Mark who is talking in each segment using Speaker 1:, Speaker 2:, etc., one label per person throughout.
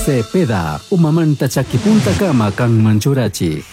Speaker 1: Cepeda, umamanta chakipuntakama kanman churachik.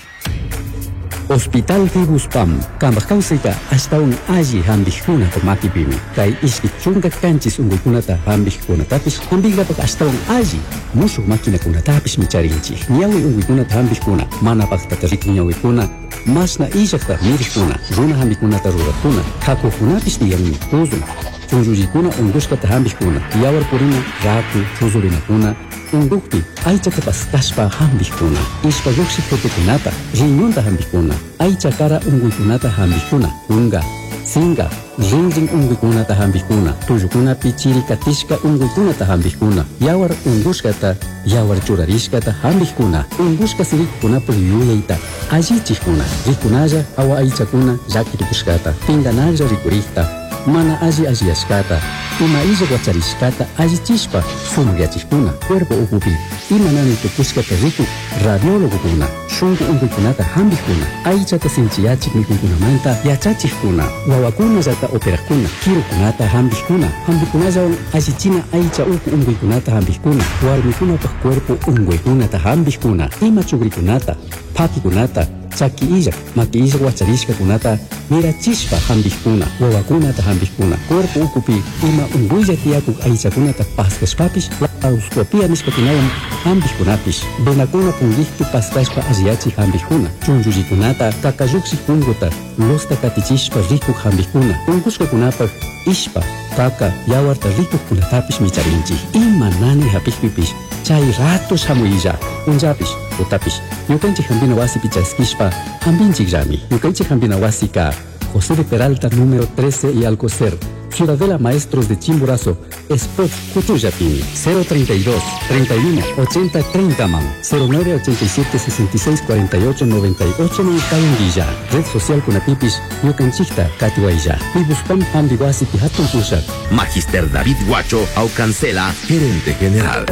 Speaker 1: Hospital Fibuspam, kambaj kawsayta ashtawan alli hampikkunata makipimi. Kay 27 unkuykunata hampikkunatapish hampinkapak ashtawan alli mushuk maquinakunatapishmi charinchik. Ñawi unkuykunata hampikkuna, mana paktata rikuk ñawikuna, mashna illakta mirikuna, runa hampikunata rurakuna, kakukunapish tiyanmi, tuzun, chunllullikuna unkushkata hampikkuna, yawar purina, raku, chuzurinakuna, unkukpi aychata paskashpa hampikkuna, ishpa llukshik tutukunata, riñonta hampikkuna, aycha kara unkuykunata hampikkuna, kunka, sinka, rinrin unkuykunata hampikkuna, tullukunapi chiri katishka unkuykunata hampikkuna, yawar unkushkata, yawar churarishkata hampikkuna, unkushka sirikukunapak yuyayta allichikkuna, rikunalla awa aychakuna llaki tukushkata, pinkanalla rikurikta, mana alli alliyashkata, ima illak wacharishkata allichishpa sumakyachikkuna, cuerpo ukupi ima nani tukushkata rikuk radiólogokuna, shunku unkuykunata hampikkuna, aychata sinchiyachik mikuykunamanta yachachikkuna, wawakunallata operakkuna, kirukunata hampikkuna, hampikunallawan allichina aycha uku unkuykunata hampikkuna, warmikunapak cuerpo unkuykunata hampikkuna, ima chukrikunata, pakikunata, chaki illak, maki illak wacharishkakunata mirachishpa hampikkuna, wawakunata hampikkuna, cuerpo ukupi ima unkuylla tiyakuk aychakunata paskashpapish laparoscopia nishkakunawan hampikkunapish, venakuna punkikpi paskashpa alliyachik hampikkuna, chunllullikunata kakallukshik punkuta losta katichishpa rikuk hampikkuna, unkushkakunapak ishpa, kaka, yawarta rikukkunatapish micharinchik. Ima nani hapikpipish chay rato shamuylla, punllapish, tutapish, ñukanchik hampina wasipi chaskishpa hampinchikllami. Ñukanchik hampina wasika José de Peralta número 13 y Alcocer, Ciudadela Maestros de Chimborazo, Spot Cuchuyapini, 032 31 80 30 man, 09 87 66 48 98 man Kayunguilla, Red Social Kunapipis, Ñukanchikta Katiwaylla, Pibuspam Hambiwasi Pihatun Pushak.
Speaker 2: Magister David Guacho Aucancela, gerente general.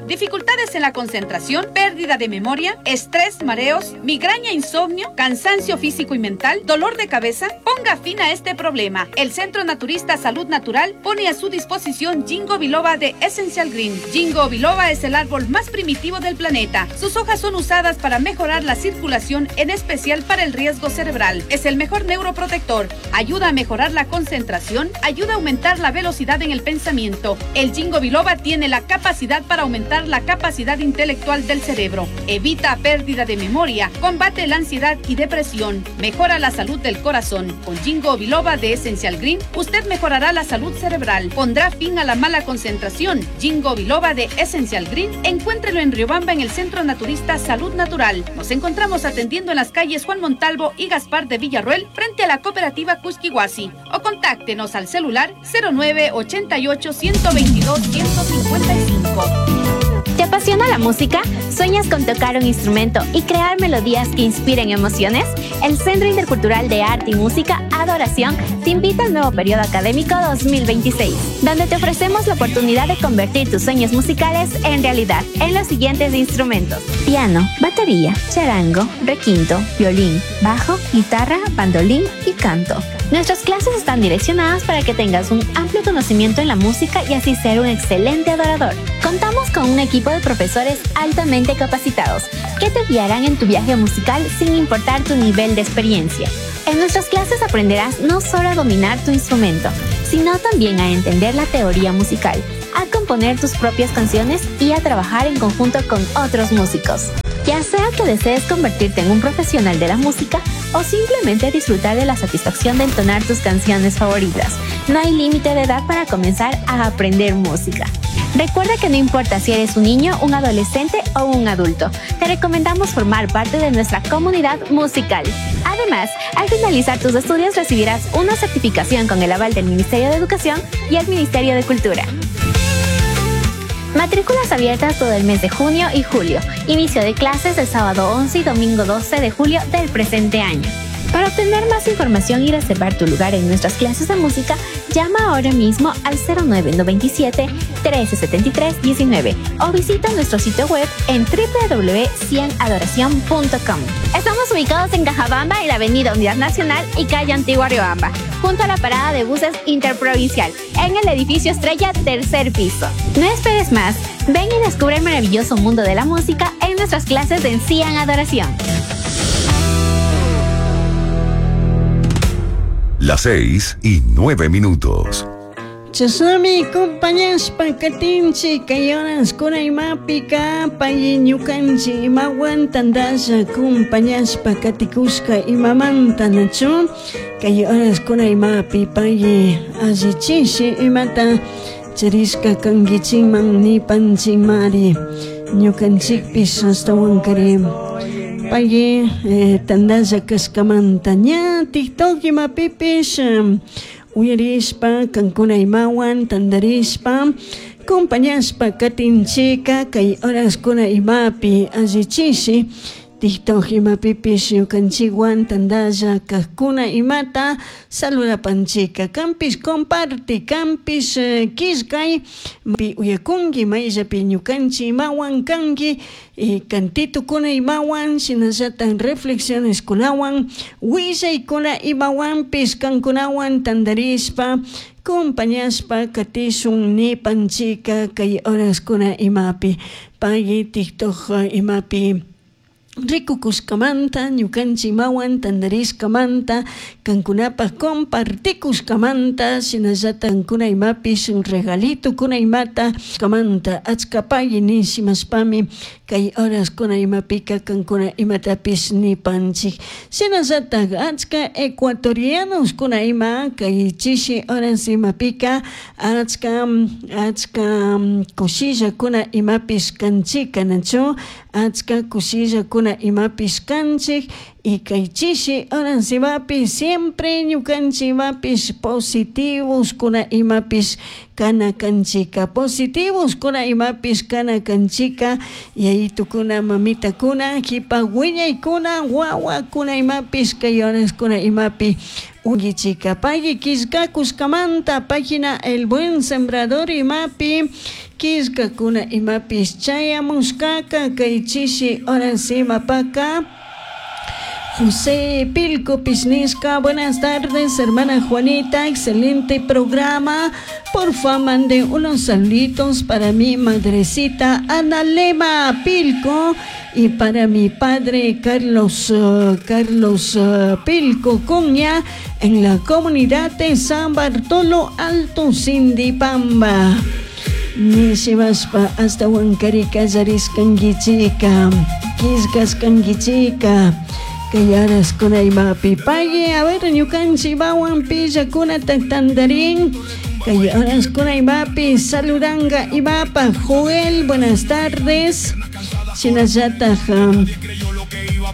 Speaker 3: Dificultades en la concentración, pérdida de memoria, estrés, mareos, migraña, insomnio, cansancio físico y mental, dolor de cabeza. Ponga fin a este problema. El Centro Naturista Salud Natural pone a su disposición Ginkgo biloba de Essential Green. Ginkgo biloba es el árbol más primitivo del planeta. Sus hojas son usadas para mejorar la circulación, en especial para el riesgo cerebral. Es el mejor neuroprotector. Ayuda a mejorar la concentración, ayuda a aumentar la velocidad en el pensamiento. El Ginkgo biloba tiene la capacidad para aumentar la capacidad intelectual del cerebro, evita pérdida de memoria, combate la ansiedad y depresión, mejora la salud del corazón. Con Ginkgo biloba de Essential Green, usted mejorará la salud cerebral, pondrá fin a la mala concentración. Ginkgo biloba de Essential Green, encuéntrelo en Riobamba en el Centro Naturista Salud Natural. Nos encontramos atendiendo en las calles Juan Montalvo y Gaspar de Villarroel, frente a la cooperativa Cusquihuasi, o contáctenos al celular 09 88 122 155.
Speaker 4: ¿Te apasiona la música? ¿Sueñas con tocar un instrumento y crear melodías que inspiren emociones? El Centro Intercultural de Arte y Música Adoración te invita al nuevo periodo académico 2026, donde te ofrecemos la oportunidad de convertir tus sueños musicales en realidad en los siguientes instrumentos: piano, batería, charango, requinto, violín, bajo, guitarra, bandolín y canto. Nuestras clases están direccionadas para que tengas un amplio conocimiento en la música y así ser un excelente adorador. Contamos con un equipo de profesores altamente capacitados que te guiarán en tu viaje musical sin importar tu nivel de experiencia. En nuestras clases aprenderás no solo a dominar tu instrumento, sino también a entender la teoría musical, a componer tus propias canciones y a trabajar en conjunto con otros músicos. Ya sea que desees convertirte en un profesional de la música o simplemente disfrutar de la satisfacción de entonar tus canciones favoritas, no hay límite de edad para comenzar a aprender música. Recuerda que no importa si eres un niño, un adolescente o un adulto, te recomendamos formar parte de nuestra comunidad musical. Además, al finalizar tus estudios recibirás una certificación con el aval del Ministerio de Educación y el Ministerio de Cultura. Matrículas abiertas todo el mes de junio y julio. Inicio de clases el sábado 11 y domingo 12 de julio del presente año. Para obtener más información y reservar tu lugar en nuestras clases de música, llama ahora mismo al 0997 1373 19 o visita nuestro sitio web en www.cienadoracion.com. Estamos Estamos ubicados en Cajabamba, en la Avenida Unidad Nacional y calle Antigua Riobamba, junto a la parada de buses interprovincial, en el edificio Estrella, tercer piso. No esperes más. Ven y descubre el maravilloso mundo de la música en nuestras clases de Cian Adoración.
Speaker 5: Las 6:09.
Speaker 6: Chashnami compañashpa katinchik kay horaskuna imapika pay ñukanchik imawan tantalla compañashpa katikushka imamanta nachu kay horaskuna imapi pay allichishi imata charishka kankichikman nipanchikmari ñukanchikpish ashtawankari pay tantalla kashkamanta ña TikTok imapipish uyarishpa kankuna imawan tantarishpa compañashpa katinchika kay horaskuna imapi allichishi TikTok imapipish ñukanchikwan tantalla kajkuna imata saludapanchika kanpish comparte kanpish killkay pi uyakunki mayllapi ñukanchik imawan kanki cantitukuna imawan shinallatak reflexioneskunawan willaykuna imawanpish kankunawan tantarishpa compañashpa katishun nipanchika kay horaskuna imapi pay TikTok imapi rikukushkamanta ñukanchik imawan tantarishkamanta kankunapak compartikushkamanta shinallatak kankuna imapish regalitukuna imata kamanta achka pagui nishimashpami kay horaskuna imapika kankuna imatapish nipanchik shinallatak achka ecuatorianoskuna ima kay chishi horas imapika achka achka kushillakuna imapish kanchika nachu achka kushillakuna imapish kanchik y kay chishi horas imapish siempre ñukanchik imapish positivos kuna imapish kana kanchika positivos kuna imapish kana kanchika yayitukuna mamitakuna kipa wiñaykuna wawakuna imapish kay horaskuna imapi unkichika pay killkakushkamanta página El Buen Sembrador imapi killkakuna imapish chayamushkaka kay chishi horas imapaka José Pilco Pisnisca, buenas tardes, hermana Juanita, excelente programa. Porfa, mande unos saluditos para mi madrecita Ana Lema Pilco y para mi padre Carlos, Carlos Pilco Cuña en la comunidad de San Bartolo Alto Sindipamba. Nishimashpa hasta Huancarika kallariskankichika, killkashkankichika. Kay horaskuna imapi pagui a ver ñukanchik imawan pillakunata tantarin kay horaskuna imapi saludanga imapa Joel buenas tardes shinallatak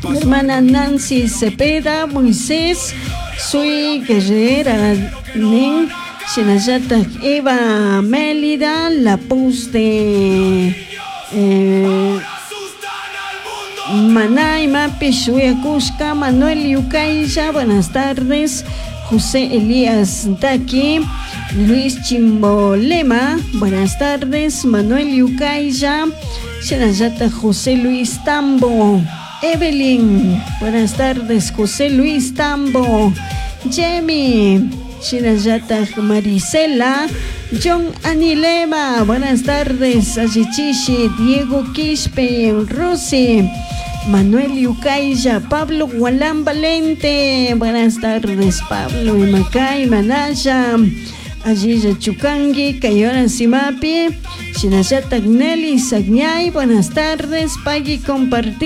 Speaker 6: hermana Nancy Cepeda Moisés soy guerrera nin shinallatak Eva Mélida la pus de Manay Mapish Uyakushka, Manuel Yucailla, buenas tardes. José Elías Daki, Luis Chimbolema, buenas tardes. Manuel Yucailla, Shinallata José Luis Tambo, Evelyn, buenas tardes. José Luis Tambo, Jamie, Shinallata Marisela, John Anilema, buenas tardes, Ayichishi, Diego Quispe, Rosy, Manuel Yucailla, Pablo Gualán Valente, buenas tardes, Pablo Imacay, Manaya, Ayilla Chucangui, Kayora Simapi, Shinallata Nelly Sagñay, buenas tardes, Pagui compartir.